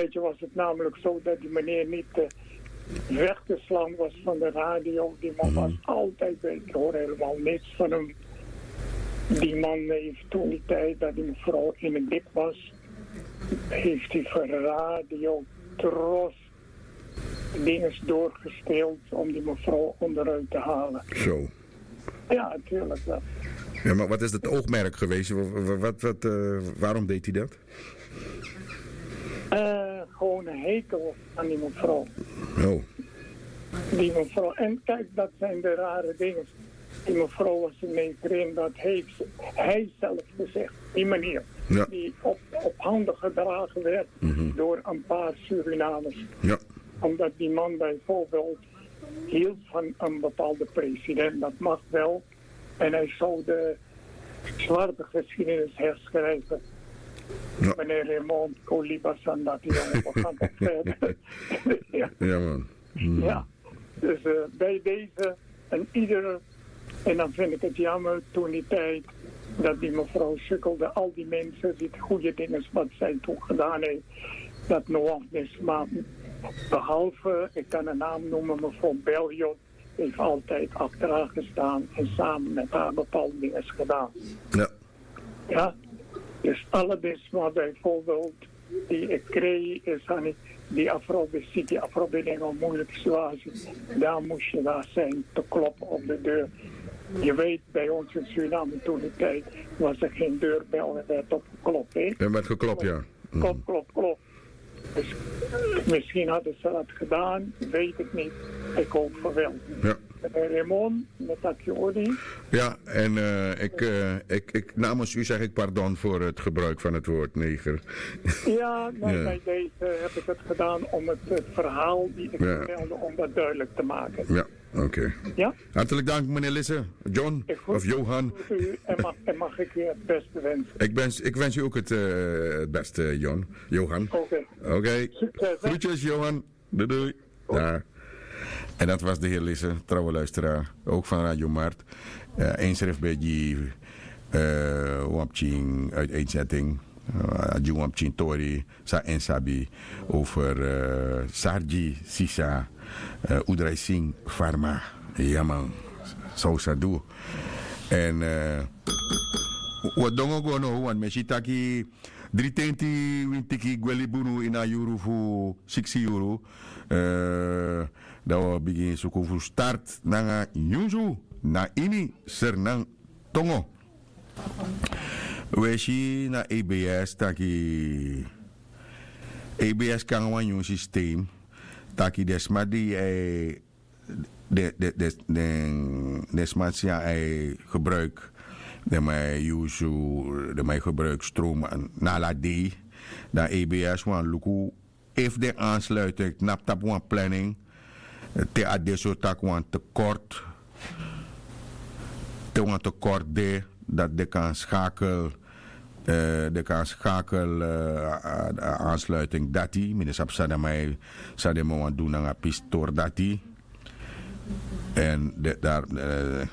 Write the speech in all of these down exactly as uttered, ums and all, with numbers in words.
tijdje was het namelijk zo dat die meneer niet eh, weg te slaan was van de radio. Die man was altijd bij, ik hoor helemaal niks van hem. Die man heeft toen die tijd dat die mevrouw in het dik was, heeft hij voor radio, tros, dingen doorgespeeld om die mevrouw onderuit te halen. Zo. Ja, natuurlijk wel. Ja, maar wat is het oogmerk geweest? Wa- wa- Wat, wat, eh, waarom deed hij dat? Eh, gewoon een hekel aan die mevrouw. Oh, Die mevrouw. En kijk, dat zijn de rare dingen. Die mevrouw was een negerin, dat heeft hij zelf gezegd. Die meneer, ja. Die op, op handen gedragen werd door een paar Surinamers. Ja. Omdat die man bijvoorbeeld hield van een bepaalde president, dat mag wel. En hij zou de zwarte geschiedenis herschrijven. Ja. Meneer Raymond Koliba Sandati, jongen, we gaan toch verder. Ja. Ja, man. Ja, dus eh, bij deze en ieder. En dan vind ik het jammer toen die tijd dat die mevrouw sukkelde. Al die mensen, die goede dingen wat zij toen gedaan heeft, dat nog niet. Maar behalve, ik kan een naam noemen, mevrouw Belliot, heeft altijd achteraan gestaan en samen met haar bepaalde dingen gedaan. Ja. Ja, dus alle Bisma bijvoorbeeld, die Ekrei is aan die afrobe, die afrobe dingen een moeilijke situatie. Daar moest je daar zijn te kloppen op de deur. Je weet, bij ons in Suriname toen de tijd was er geen deurbel en werd opgeklopt. Hè? En werd geklopt, ja. Klop, klop, klop. Dus misschien hadden ze dat gedaan, weet ik niet. Ik hoop van wel. Ja. Meneer Raymond, met dat je odi. Ja, en eh, ik, eh, ik, ik, namens u zeg ik pardon voor het gebruik van het woord neger. Ja, maar bij deze heb ik het gedaan om het, het verhaal die ik vertelde, om dat duidelijk te maken. Ja, oké. Ja? Hartelijk dank, meneer Lisse. John Ik groet of Johan. U en mag, en mag ik u het beste wensen. Ik wens, ik wens u ook het, eh, het beste, John. Johan. Oké. Oké. Succes, hè? Groetjes, Johan. Doei, doei. Ja. En dat was de heer Lisse, trouwe luisteraar, ook van Radio Mart. Uh, Eens schrift bij die uh, Wampching uiteenzetting. Uh, die Wampching Tori, sa en sabi over uh, Sarji Sisa, uh, Udrai Singh Pharma. Ja, man. Zo sa du. En uh, wat dongo go no, want mesi taki dri tenti wintiki gweli bunu ini a yuru fu siksi yuru. Eh, dan wi o bigin suku fu start nanga nyunsu na ini Sernantongo. Wi e si na A B S taki A B S kon nanga wan nyun systeem taki den sma di e den den den den sma san e gebruik den man e yusu den man e gebruik stroom na ala dei. Dan A B S wani luku efu den aansluiting knapu tapu wan planning te a de so tak' wan tekort te wan tekort de dati den kan skakel den kan skakel a aansluiting dati mi no sabi san den man wani du nanga pisi tori dati. En de dari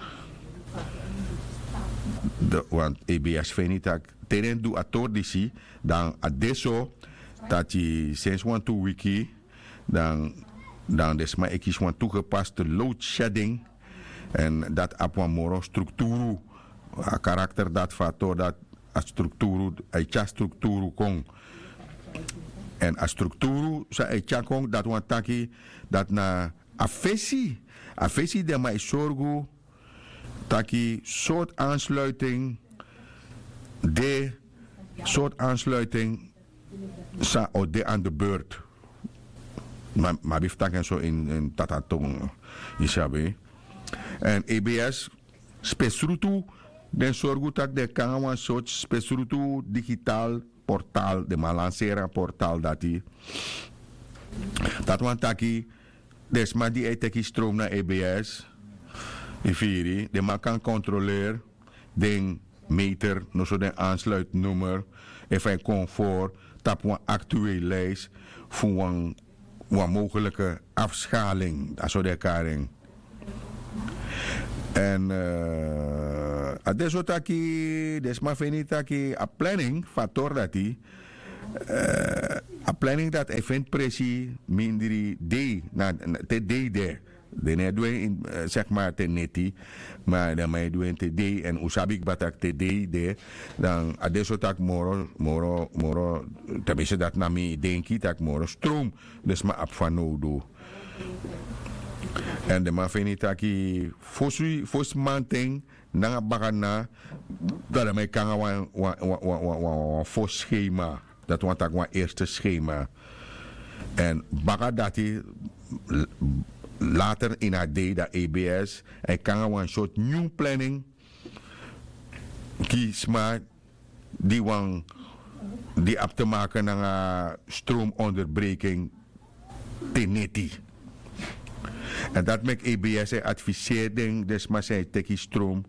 want A B S feni tak' te den du a tori disi dan a de so dati sensi wantu wiki dan den sma e kisi wan tu gepaste load shedding. Èn dati abi wan moro strukturu a karakter dati fu a tori dati a strukturu a e tyari strukturu kon. Èn a strukturu san a e tyari kon dati wani taki dati na a fesi a fesi di a man e sorgu taki sortu ansluiting de sortu ansluiting san o de an de beurt. Ma mi abi fu taki en so ini tata tongo yu sabi. Èn A B S spesrutu den sorgu tak' den kon nanga wan sortu spesrutu digital portal den man lanseri a portal dati. Dati wani taki den sma di e teki strom na A B S yu firi den man kan kontroleri den meter noso den ansluitnummer efu a e kon for tapu wan aktuel lijst fu wan wan mogelike afskaling a so den e kari en. Èn a de so taki den sma feni taki a planning fu a tori dati a planning dati e feni presi mindri dei na te dei de. Den no e du en, seki ma te neti. Ma den man e du en te dei èn un sabi kba tak' te dei de, dan a de so tak' moro moro moro, ten minste dati na mi denki tak' moro strowm den sma abi fanowdu. Èn den man feni taki fosi fosi manten nanga bakadina, dan den man e kon nanga wan wan wan wan wan wan wan fosi skema. Dati wani taki wan erste skema. Èn baka dati later ini a dei dan a b s e kon nanga wan sortu nyun planning, gi sma di wan di abi te maken nanga stroom onderbreking te neti. Èn dati meki a b s e adviseri den den sma san e teki stroom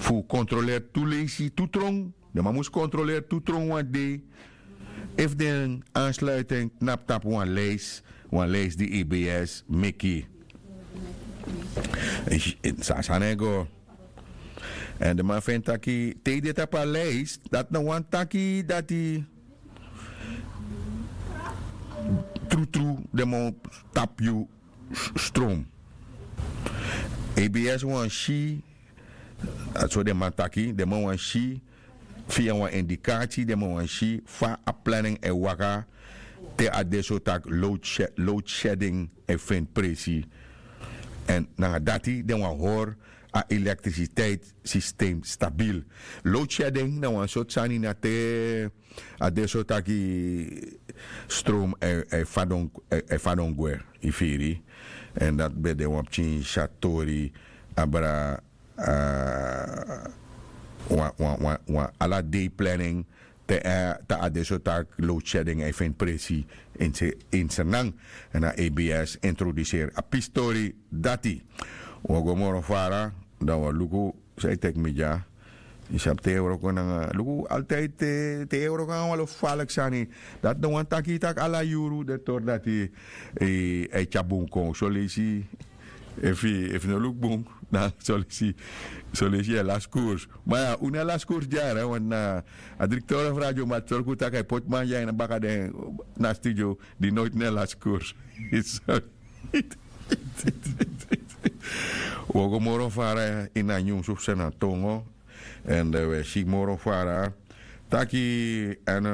fu kontroleri tu leisi tu trong. Den man mus kontroleri tu trong wan dei efu den ansluiten knapu tapu wan lijs wan lijs di a b s meki. San a sani e go. Èn den man feni taki te yu de tapu a lijs dati no wani taki dati trutru den man o tapu yu strom. A b s wani si dati so den man taki den man wani si via wan indikati den man wani si fa a planning e waka te a de so tak' load shedding e feni presi. Èn nanga dati den wani hori a elektrisiteiti sistem stabil. Load shedding na wan sortu sani na te a de so taki stroom e fadon gwe. Yu firi? Èn dati ben de wan pikin syatori abra wan wan wan wan ala dei planning te a de so tak' load shedding e feni presi. Ini sernan èn a a b s introduseri a pistori dati. Un o go moro fara dan un o luku san yu teki mi dya. Yu sabi te yu e wroko nanga luku altide te yu e wroko nanga wan lo faliki sani. Dati no wani taki yu tak' ala yuru den tori dati e tyari bun kon soleisi efu yu no luku bun dan soleisi yu e lasi kurs. Ma ya un no e lasi kurs dyari wanti na a direkteur of radio mati sorgu tak' a e poti man dya ini baka den na studio di noiti no e lasi kurs. Wi o go moro fara ini a nyunsu fu sena tongo. Èn wi e si moro fara taki èn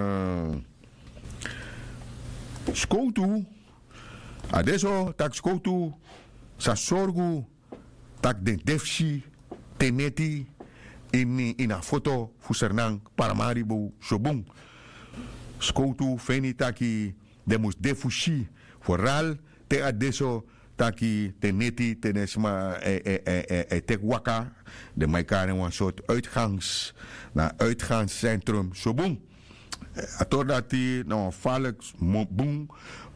skowtu a de so tak' skowtu sa sorgu tak' den de fu si te neti ini a foto fu sernan paramaribo so bun. Skowtu feni taki den mus de fu si foral te a de so taki te neti te den sma e teki waka den man e kari en wan sortu uitgangs na uitgangs sentrum so bun. A tori dati na wan faliki bun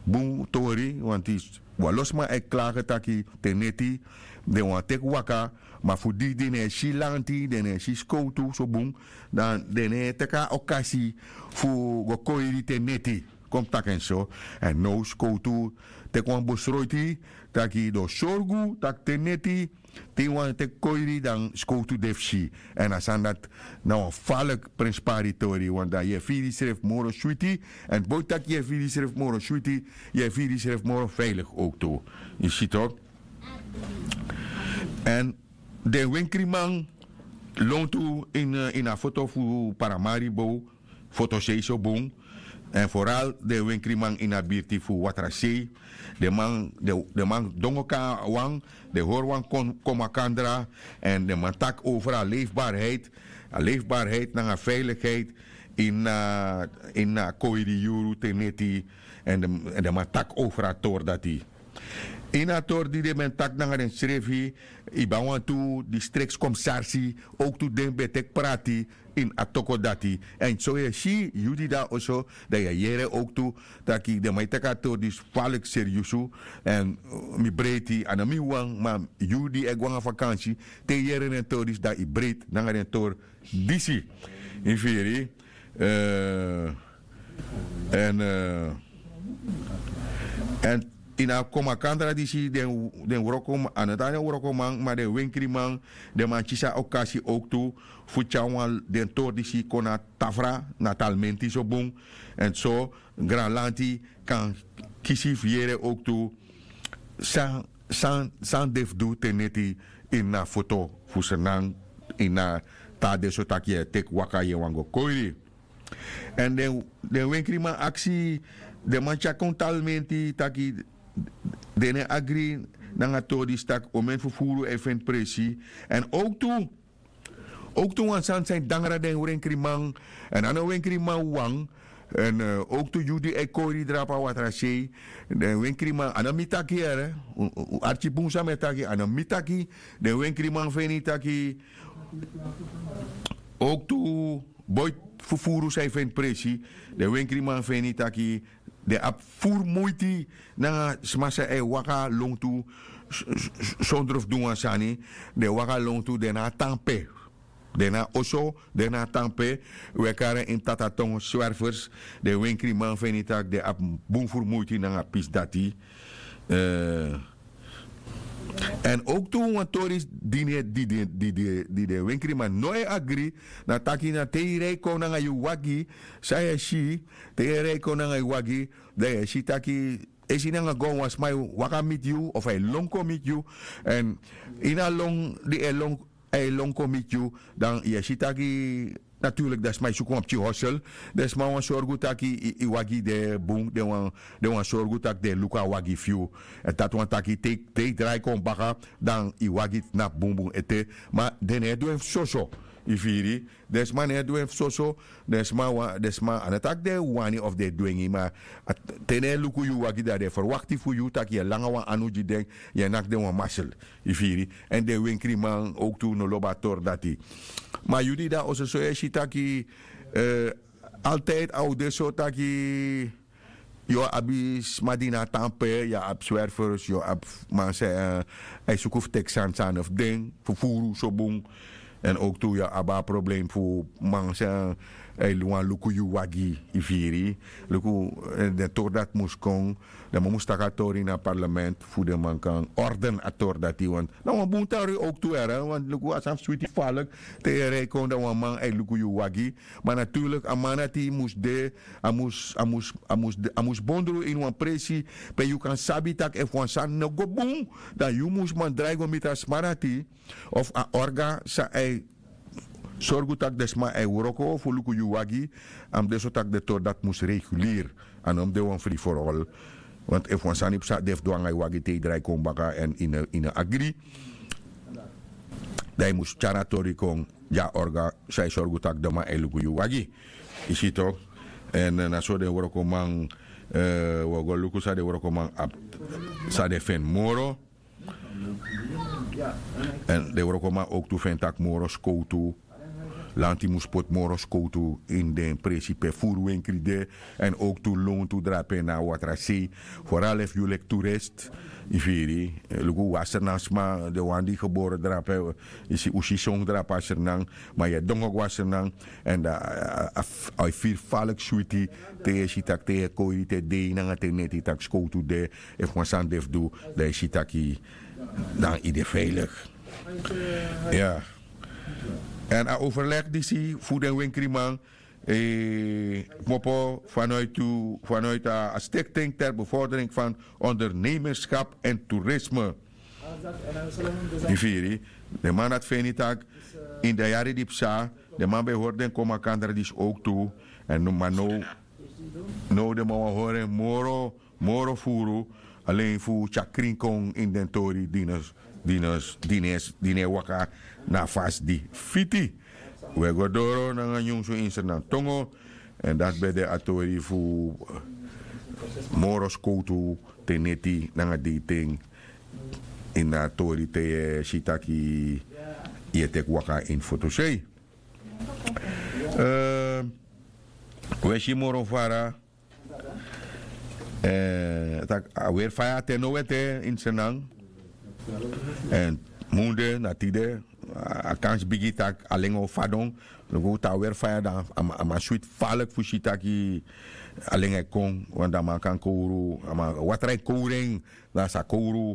bun tori wanti wan lo sma e klage taki te neti den wani teki waka ma fu di den no e si lanti den no e si skowtu so bun dan den no e teki a okasi fu go koiri te neti. Kon mus taki en so. Èn now skowtu teki wan bosroiti taki den o sorgu tak' te neti te yu wani teki koiri dan skowtu de fu si. Èn a sani dati na wan faliki prenspari tori wanti dan yu e firi yusrefi moro switi. Èn boi tak' yu e firi yusrefi moro switi yu e firi yusrefi moro feiliki owktu. Yu si toki? Èn den wenkriman lontu ini a foto fu paramaribo fotosei so bun. Èn foral den wenkriman ini a birti fu watrasei den man dongo kon na wan den hori wan kon makandra. Èn den man taki over a leifbarheid a leifbarheid nanga veilikheid ini a koiri yuru te neti. Èn den man taki over a tori dati ini a tori di den ben taki nanga densrefi. Yu ben wantu distriktskomsarsi owktu den ben teki prati ini a toko dati. Èn so yu e si yu di de na oso dan yu e yere owktu taki den man e teki a tori disi faliki seriusu. Èn mi breiti a no mi wawan ma yu di e go nanga fakansi te yu yere den tori disi dan yu breiti nanga den tori disi. Yu firi? Èn èn ini a kon makandra disi den wrokoman a no tan den wrokoman ma den wenkriman den man kisi a okasi owktu fu tyari wan den tori disi kon na tafra na talmenti so bun. Èn so granlanti kan kisi fu yere owktu san san san de fu du te neti ini a foto fu srnan ini a taa de so tak' yu e teki waka yu e wani go koiri. Èn den wenkriman aksi den man tyari kon talimenti taki den no e agri nanga tori disi tak' omeni fufuru e feni presi. Èn owktu owktu wan sani san e dangra den wenkriman èn a no wenkriman wawan. Èn owktu yu di e kori drapu a watrasei den wenkriman a no mi taki yere. Un arki bun san mi e taki a no mi taki. Den wenkriman feni taki owktu boiti fufuru san e feni presi. Den wenkriman feni taki den abi furu muiti nanga sma san e waka longtu sondro fu du wan sani. Den e waka longtu den na a tan pe den na a oso den na a tan pe. Un e kari en ini tataton swerfers. Den wenkriman feni tak' den abi bun furu muiti nanga pisi dati. Èn owktu wan tori di den wenkriman no e agri na taki na te yu rei kon nanga yu wagi san yu e si te yu e rei kon nanga yu wagi dan yu e si taki esi nanga go wan sma e waka miti yu of a e lon kon miti yu. Èn ini a lon di a e lon kon miti yu dan yu e si taki naturlik den sma e suku wan pikin hosel. Den sma wani sorgu taki yu wagi de bun den wani sorgu tak' den e luku a wagi fu yu. Èn dati wani taki te yu drai kon baka dan yu wagi tnapu bunbun ete. Ma den no e du en fu soso. Yu firi? Den sma no e du en fu soso. Den sma a no taki den e wani of den e dwengi ma te den e luku yu wagi dan den e ferwakti fu yu tak' yu e langa wan anu gi den. Yu e naki den wan masel. Yu firi? Èn den wenkriman owktu no lobi a tori dati. Ma yu di de na oso so yu e si taki altide a o de so taki yu o abi sma di na a tan pe yu o abi swerfers yu o abi man san e suku fu teki sani san a no fu den fufuru so bun. Èn owktu yu o abi a problem fu man san e wani luku yu wagi. Yu firi? Luku den tori dati mus kon. Den man mus taki a tori ini a parlement fu den man kan orden a tori dati want na wan bun tori owktu ere want luku a sani fu switi falek. Te yu e rei kon dan wan man e luku yu wagi. Ma naturlik a man dati mus de a mus a mus a mus a mus bondru ini wan presi pe yu kan sabi tak' efu wan sani no go bun dan yu mus man drai go miti a sma dati of a orga san a e sorgu tak' den sma a e wroko fu luku yu wagi. A mus de so tak' den tori dati mus reguleri. A no mus de wan fri for ol. Want efu wan sani psa den fu du nanga yu wagi te yu drai kon baka èn yu no agri dan yu mus tyari a tori kon gi a orga san e sorgu tak' den man e luku yu wagi. Yu si tok'? Èn na so den wrokoman wi o go luku san den wrokoman abi san den feni moro. Èn den wrokoman owktu feni tak' moro skowtu lanti mus poti moro skowtu ini den presi pe furu wenkri de. Èn owktu lontu drape na a watrasei foral efu yu leki turist. Yu firi? Luku wi a srnan sma den wan di gebore drape yu si un si son drape a srnan. Ma yu e dongo go a srnan èn dan a e firi faliki switi te yu e si tak' te yu e koiri te dei nanga te neti tak' skowtu de. Efu wan sani de fu du dan yu si taki dan yu de veilik. Ya. Èn a overleg disi fu den wenkriman kmopo vanuit a stikting ter bevordering van ondernemerskap en toerisme. Yu firi? Den man dati feni tak' ini den yari di psa den man ben hori den kon makandra disi owktu. Èn ma now now den man wani hori en moro moro furu alen fu tyari krin kon ini den tori di no e waka na a fasi di fiti. Wi e go doro nanga nyunsu ini srnan tongo. Èn dati ben de a tori fu moro skowtu te neti nanga deiten ini a tori te yu e si taki yu e teki waka ini fotosei. Wi e si moro fara tak' a weri faya te no wete ini srnan. Èn munde na tide a kansi bigi tak' alen o fadon. Luku te a weri faya dan a man switi faliki fu si taki alen e kon. Wan dan a man kan kowru a man watra e kowru en dan a sa kowru.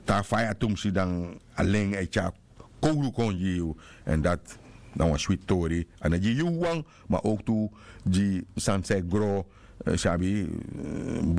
Te a faya tumsi dan alen e tyari kowru kon gi yu. Èn dati na wan switi tori a no gi yu wawan ma owktu gi sani san e gro Sabi.